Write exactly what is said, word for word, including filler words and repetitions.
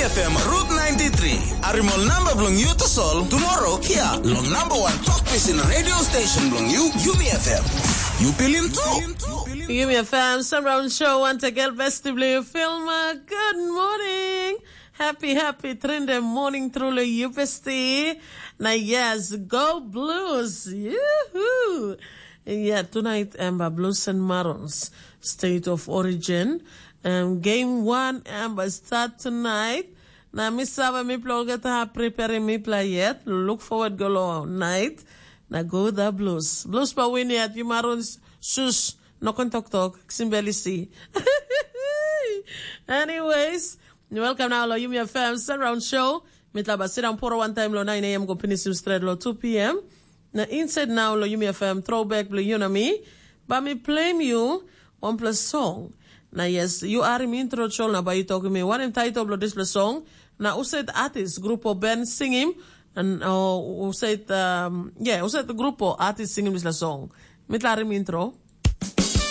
F M Route ninety-three. Arimol namba bilong yu tasol tomorrow hia long number one talk pisin radio station bilong yu, Yumi F M. Yu pilim tu. Yumi F M Surround Show once again, besti bilong yu Filma. Good morning. Happy, happy Trinde morning truly, yu besti. Na yes, go Blues. Yuhu. Yeah, tonight, Amber Blues and Marons, State of Origin. Um, game one, Amber, start tonight. Na mi save mipela olgeta preparing mipela yet. Look forward go long night. Na go the Blues. Blues pa win yet, you Marons, shush, no kon tok tok, kisim beli si. Anyways, welcome now lo Yumi F M Surround Show. Mitla ba sit down poro one time lo nine a m go finish him straight lo two p m. Na inside now lo Yumi F M throwback blo you na me. Ba mi play you one plus song. Na yes, you are mi intro chol na ba you talk me. One in title blo this plus song. Na usaid artist grupo band sing him. And oh, usaid um, yeah, usaid grupo artist sing him this song. Mitla mi intro.